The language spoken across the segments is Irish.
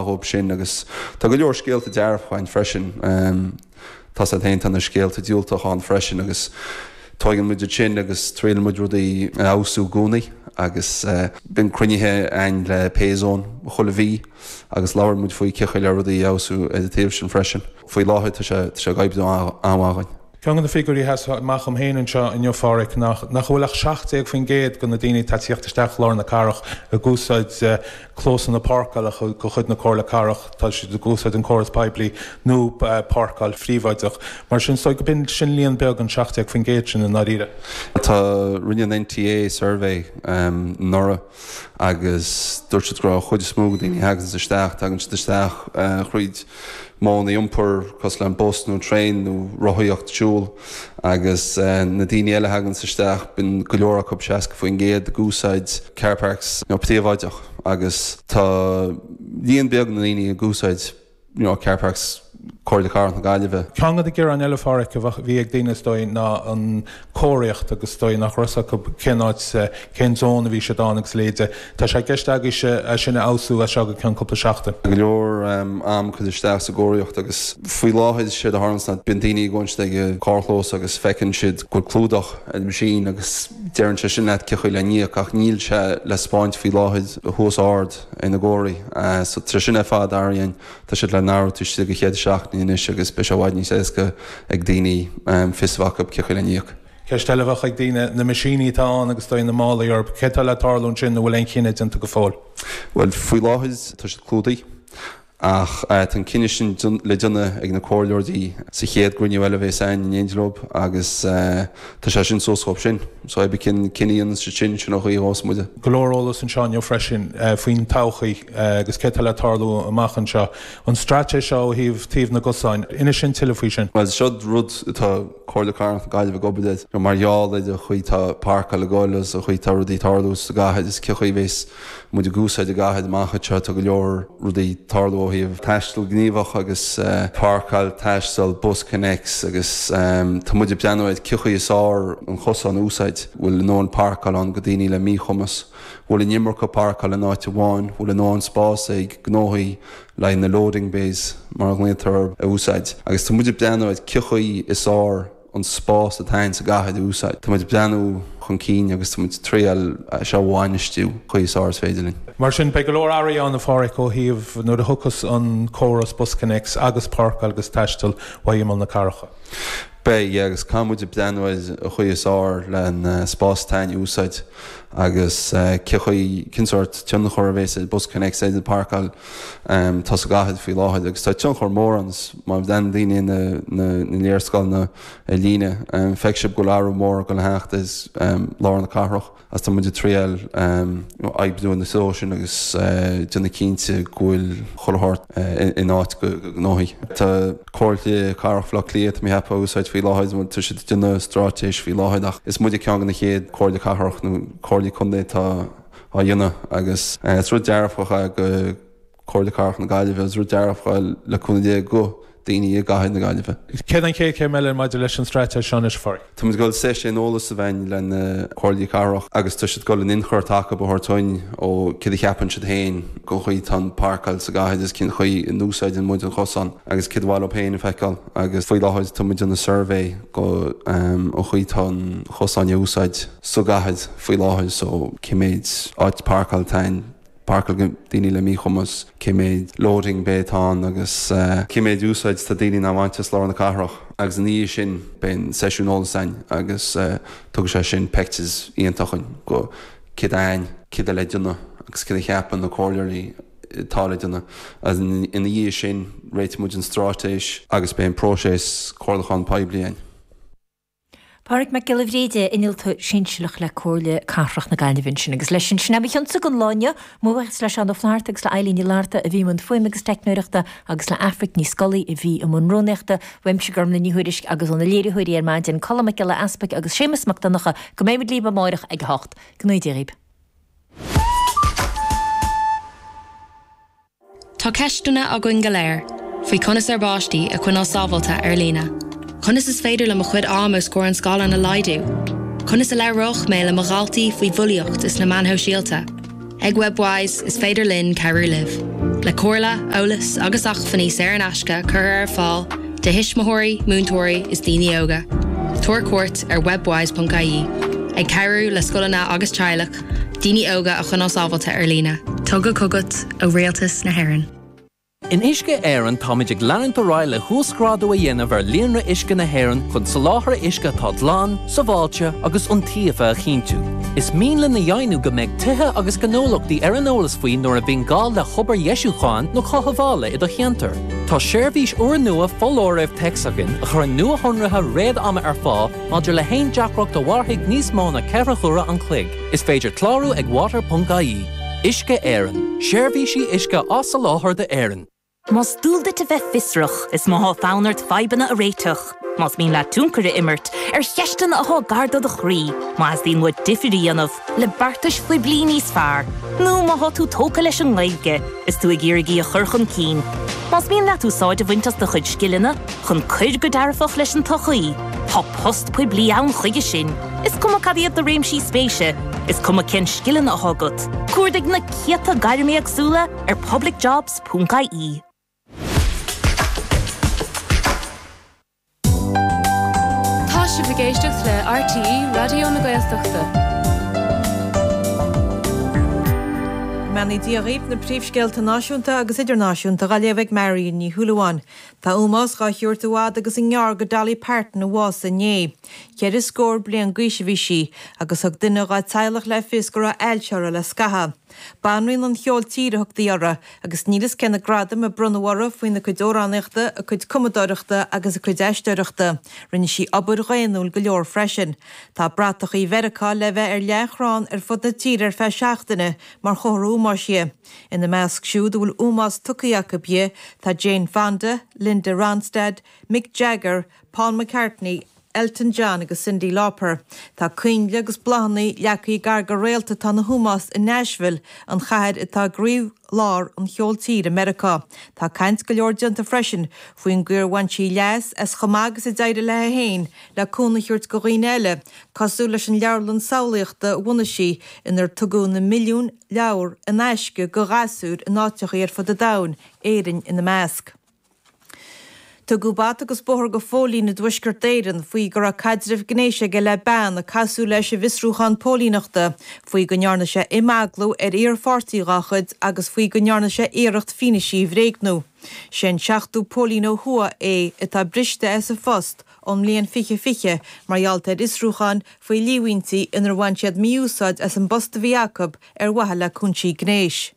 Dhóibh sin agus tá go leor scéalta dearfacha ann freisin. Tá's agat féin, tá na scéalta diúltacha ann freisin agus tóigeann muid iad sin agus triaileann muid rudaí a fheabhsú i gcónaí agus bíonn cruinnithe againn le Payzone chuile mhí agus labhrann muid faoi cé chaoi le rudaí a fheabhsú ar an taobh sin freisin. Faoi láthair tá sé ag oibriú an-mhaith dhúinn. Ceann de na figiúirí a sheas amach dhom féin anseo inniu, a Pháraic, ná nach bhfuil ach 17% de na daoine atá ag tíocht isteach lár na cathrach ag úsáid clósanna páirceála de chuid na Comhairle Cathrach, tá siad ag úsáid an córas poiblí nó páirceáil phríobháideach. Mar sin, is dóigh go b'in sin líon beag, an 17% sin i ndáiríre. Tá, rinne an NTA suirbhé anuraidh agus dúirt siad go raibh an chuid is mó de dhaoine a thaganns isteach, tagann siad isteach thríd modhanna iompair cosúil le an bus nó an traein nó rothaíocht, siúl agus na daoine eile a thaganns isteach, bíonn go leor acu, 60%, ag úsáid car parks príobháideach agus tá líon beag na ndaoine ag úsáid you know, car parks Comhairle Cathrach na Gaillimhe. Ceann de na gearáin eile, a Pháraic, a bhí ag daoine is dóigh ná an chomharthaíocht agus is dóigh nach raibh fhios acu cén áit, cén zón a bhí siad ann agus a leithéide. Tá sé i gceist agaibhse é sin a fheabhsú as seo go ceann cúpla seachtain. Go leor am curtha isteach sa gcomharthaíocht agus faoi láthair séard a tharlaíonns ná bíonn daoine ag gabháil ag an carrchlós agus feiceann siad go bhfuil clúdach ar an machine agus deireann sé sin leat cé chaoi le n-íoc ach níl sé le 'speáint faoi láthair thuas ard ar na gcomharthaí. So tá sin ar fad athraithe, tá siad le n-athrú taobh istigh de cheithre seachtainí anois agus beidh sé i bhfad níos éasca ag daoine fios a bheith acu cé chaoi le n-íoc. Ceist eile a bheadh ag daoine, na meaisíní atá ann agus is dóigh na málaí orthu, céard atá le tarlú ansin, an bhfuil aon chinneadh déanta go fóill? Bhuel, faoi láthair tá siad clúdaithe. Ach tá an cinneadh sin le déanamh ag na comhairleoirí sa chéad gcruinniú eile a bheas againn in éindí leo agus tá sé sin suas dhóibh sin. So pé ar bith cén cinneadh a dhéanann siad sin, sin an chaoi a ghabhfas muide. Go leor eolas anseo inniu freisin faoin todhchaí agus céard atá le tarlú amach anseo. An straitéis seo ó thaobh taobh na gcosán, inis dúinn tuilleadh faoi sin. Bhuel, seo rud atá Comhairle Cathrach na Gaillimhe ag obair air mar gheall ar an chaoi atá páirceáil ag dul agus an chaoi atá rudaí ag tarlú sa gcathair is cé chaoi a bheas muid ag úsáid an gcathair amach anseo. Tá go leor rudaí ag tarlú ó thaobh taisteal gníomhach agus páirceáil, taisteal, BusConnects agus tá muid ag breathnú ar cé chaoi is fearr an chosán a úsáid. Bhfuil a ndóthain páirceáil ann go daoine le míchumas? Bhfuil an iomarca páirceáil in áit amháin? Bhfuil a ndóthain spás ag gnóthaí le haghaidh na loading bays mar a ghlaotar orthu a úsáid? Agus tá muid ag breathnú ar cé chaoi is fearr an spás atá ann sa gcathair a úsáid. Tá muid ag breathnú chun cinn agus tá muid ag triail é seo a bhainistiú chaoi is fearr is féidir linn. Mar sin, beidh go leor athruithe ann, a Pháraic, ó thaobh nuair a thiocfas an córas BusConnects agus páirceáil agus taisteal ó imeall na cathrach. Beidh, yeah, agus caithfidh muid ag breathnú ar an chaoi is fearr le an spás atá ann a úsáid agus cé chaoi, cén sórt tionchar a bhéas ag BusConnects ar an bpáirceáil atá sa gcathair faoi láthair agus tá tionchar mór ann má bhreathnaíonn daoine na na léarscáileanna ar líne feicfidh sibh go bhfuil athrú mór ag dul a theacht ar lár na cathrach agus tá muid ag triail oibriú ina treo sin agus déanamh cinnte go bhfuil chuile shórt in áit go gnóthaí. Tá Comhairle Cathrach Bhaile Átha Cliath, tá mé ag ceapadh, á úsáid faoi láthair, tá siad ag déanamh straitéis faoi láthair ach is muide ceann de na chéad Comhairle Cathrach nó Comhairlí Contae atá á dhéanamh agus is rud dearfach é go Comhairle Cathrach na Gaillimhe, is rud dearfach é le cúnamh Dé go daoine i gcathair na Gaillimhe. Céard an chéad chéim eile maidir leis an straitéis seo anois, a Pháraic? Tá muid ag dul seisiún eolais a bheith againn le na Comhairlí Cathrach agus tá siad ag dul an ionchur atá acu a thabhairt dúinn ó céard a cheapann siad féin gon chaoi atá an páirceáil sa gcathair agus cén chaoi a n-úsáideann muid an chosán agus céard ba mhaith leo féin a feiceáil agus faoi láthair tá muid ag déanamh suirbhé go an chaoi atá an chosán á úsáid sa gcathair faoi láthair so cé méid áit páirceáil atá ann páirceáil go daoine le míchumas, cé méid loading bay atá ann agus cé méid úsáid tá daoine á bhaint as lár na cathrach. Agus ina dhiaidh sin beidh an seisiún eolais againn agus tugfaidh sé sin picture iontach dhúinn go céard atá ann, céard atá le déanamh agus céard a cheapann na comhairleoirí atá le déanamh. Agus ina dhiaidh sin réiteoidh muid an straitéis agus beidh an próiseas comhairliúchán poiblí againn. Páraic Mac Giolla Bhríde, Innealtóir Sinsearach le Comhairle Cathrach na Gaillimhe ansin. Agus leis sin, sin é mo chionsa don lá inniu. Mo bhuíochas le Seán Ó Flatharta agus le Eilín Ní Fhlatharta a bhí i mbun fuaime agus teicneoireachta agus le Aifric Ní Scolaí a bhí i mbun rúnaíochta. Uaimse Gormlaith Ní Thuairisg agus ó na léiritheoirí ar maidin, Colm Mac Giolla Easpaig agus Séamus Mac Donncha, go mbeidh muid libh amáireach ag a hocht. Go ngnóthaí Dia dhaoib. Tá ceisteanna againn go léir faoi conas ár bpáistí a choinneáil sábháilte ar líne. Conas is féidir liom mo chuid am os comhair an scáileáin a laghdú? Conas a labhróidh mé le mo dhaltaí faoi bhulaíocht is na meáin shóisialta? Ag Webwise, is féidir linn cabhrú libh. Le comhairle, eolas agus acmhainní saor in aisce curtha ar fáil do thuismitheoirí, múinteoirí is daoine óga, tabhair cuairt ar webwise.ie, ag cabhrú le scoileanna agus teaghlaigh daoine óga a choinneáil sábháilte ar líne. Tugtha chugat ó Rialtas na hÉireann. In Uisce Éireann táimid ag leanúint ar aghaidh le huasghrádú a dhéanamh ar líonra uisce na hÉireann chun soláthar uisce atá glan, sábháilte agus iontaofa a chinntiú. Is mian linn a dheimhniú go mbeidh tithe agus gnólachtaí ar an eolas faoi nuair a bhíonn gá le hobair dheisiúcháin nó chothabhála i do cheantar. Tá seirbhís úrnua foláirimh téacs againn a chuireann nuashonruithe réad-ama ar fáil maidir le haon deacracht a mhairfidh níos mó ná 4 huaire an chloig. Is féidir clárú ag water.ie. Uisce Éireann, seirbhísí uisce á soláthar d'Éirinn. Más dual duit a bheith fiosrach is má thá fonn ort fadhbanna a réiteach, más mian leat tionchar a imirt ar cheisteanna athá gar do do chroí, má theastaíonn uait difir a dhéanamh le beartais phoiblí níos fearr, nó má thá tú tógtha leis an nGaeilge is tú ag iarraidh í a chur chun cinn, más mian leat úsáid a bhaint as do chuid scileanna chun cuir go dearfach leis an tsochaí, tá post poiblí ann chuige sin. Is cuma cad iad do réimsí spéise, is cuma cén scileanna athá agat, cuardaigh na céadta gairm éagsúla ar publicjobs. Ponc ie. Tá sibh ag éisteacht le RTÉ Raidió na Gaeltachta. Go mbeannaí Dia dhaoibh, na príomhscéalta náisiúnta agus idirnáisiúnta dhá léamh ag Marion Ní Shúilleabháin. Tá ómós dhá thabhairt i bhfad agus i ngearr go Dolly Parton a bhásaigh inné. Cheithre scór bliain d'aois a bhí sí agus thug duine dhá teaghlach le fios go raibh ailse uirthi le scaitheamh. Banríon an cheoil tíre a thugtaí uirthi, agus níl fhios cé na gradaim a bronnadh uirthi faoina cuid amhránaíochta, a cuid cumadóireachta agus a cuid aisteoireachta. Rinne sí obair dhaonnúil go leor freisin. Tá bratachaí Mheiriceá le bheith ar leathchrann ar fud na tíre ar feadh seachtaine mar chomhartha ómóis di. Ina measc siúd a bhfuil ómós tugtha acu di tá Jane Fonda, Linda Ronstadt, Mick Jagger, Paul McCartney, Elton John agus Cyndi Lauper. Tá coinnle agus bláthanna leagtha gar do réalta atá ina hómós i Nashville, an chathair atá i gcroí-lár an cheoil tíre i Meiriceá. Tá caint go leor déanta freisin faoin gcaoi ar bhain sí leas as chomh maith agus a d'éirigh léi féin le cúnamh a thabhairt do dhaoine eile, cosúil leis an leabharlann samhlaíochta a bhunaigh sí inar tugadh na milliúin leabhar in aisce do ghasúir in áiteachaí ar fud an domhain, Éirinn ina measc. Tugadh bata agus bóthar go phóilín i dTuaisceart Éireann faoi go raibh caidreamh gnéis aige le bean a casadh leis i bhfiosrúchán póilíneachta, faoi go ndearna sé imeaglú ar iarpháirtí dhá chuid agus faoi go ndearna sé iarracht fianaise a bhréagnú. Sé an seachtú póilín ó thuaidh é atá briste as a phost ón mbliain 2020 mar gheall ar fhiosrúcháin faoi líomhaintí inar bhain siad mí-úsáid as an bpost a bhí acu ar mhaithe le cúinsí gnéis.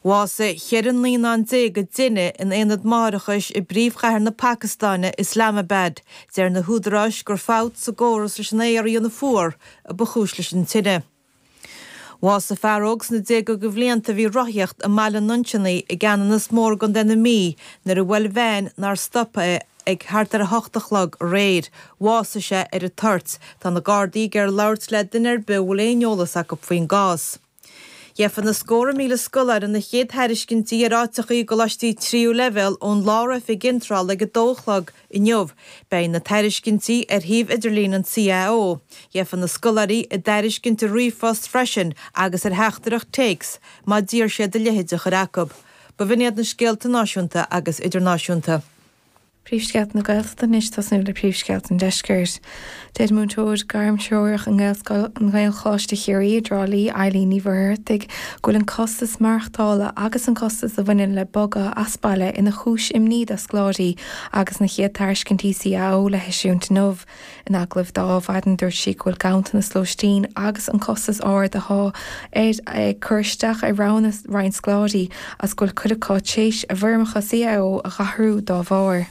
Bhásaigh 14 naíonán i dtine in aonad máithreachais i bpríomhchathair na Pacastáine, Islamabad. Deir na húdaráis gur fabht sa gcóras leis an aer a dhéanamh fuar a ba chúis leis an tine. Bhásaigh fear óg sna déaga de bhlianta a bhí ag rothaíocht i mBaile an Nuinseannaigh i gCeanannas Mór i gContae na Mí nuair a bhuail veain nár stop é ag thart ar 8 a chlog aréir. Bhásaigh sé ar an toirt. Tá na Gardaí ag iarraidh labhairt le duine ar bith a bhfuil aon eolas acu faoin gcás. Gheofa na scórtha míle scoláire na chéad thairiscintí ar áiteachaí i gcoláistí tríú leibhéal ón Lár-Oifig Iontrála ag 2 a chlog inniu. Beidh na tairiscintí ar shuíomh idirlín an CAO. Gheofa na scoláirí a dtairiscint ar ríomhphost freisin agus ar theachtaireacht téacs má d'iarr siad a leithéid a chur acu. B'in iad na scéalta náisiúnta agus idirnáisiúnta. Príomhscéalta na Gaeltachta anois, tosnú le príomhscéalta an Deiscirt. Deir múinteoir gairmthreorach i nGaelscoil Ghaelcholáiste Chiarraí i dTrá Lí, Eileen Ní Mhuircheartaigh, go bhfuil an costas maireachtála agus an costas a bhaineann le bogadh as baile ina chúis imní do scoláirí agus na chéad tairiscintí CAO le heisiúint inniu. In agallamh di Adhmhaidin dúirt sí go bhfuil ganntanas lóistín agus an costas ard atá air ag cur isteach ar roghanna roinnt scoláirí agus go bhfuil cuid acu tar éis a bhfoirmeacha CAO a dh'athrú dá bharr.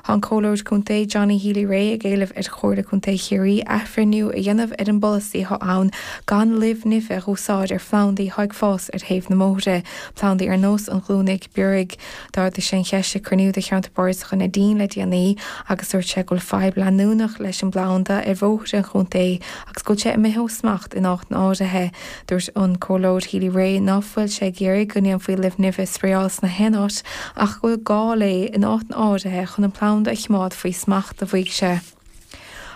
Tá an Comhairleoir Contae Johnny Healy-Rae ag éileamh ar Chomhairle Contae Chiarraí athbhreithniú a dhéanamh ar an bpolasaí atá ann gan luibh nimhe a dh'úsáid ar phlandaí atá ag fás ar thaobh na mbóithre, plandaí ar nós an ghlúinígh bioraigh. D'ardaigh sé an cheist ag cruinniú de Cheantar Bardasach an Neidín le déanaí agus dúirt sé go bhfuil fadhb leanúnach leis an bplanda ar bhóithre an chontae agus go bhfuil sé imithe ó smacht in áiteanna áirithe. Dúirt an Comhairleoir Healy-Rae ná fuil sé ag iarraidh go ndéanfaí luibh nimhe a spraeáil sna haon áit ach go bhfuil gá léi in áiteanna áirithe chun an planda a chimeád faoi smacht, a mhaígh sé.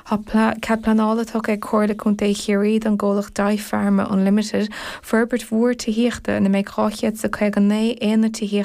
Tá cead pleanála tugtha ag Comhairle Contae Chiarraí don gcomhlacht Dipharma Unlimited forbairt mhór tithíochta ina mbeidh 259 aonad tithíochta.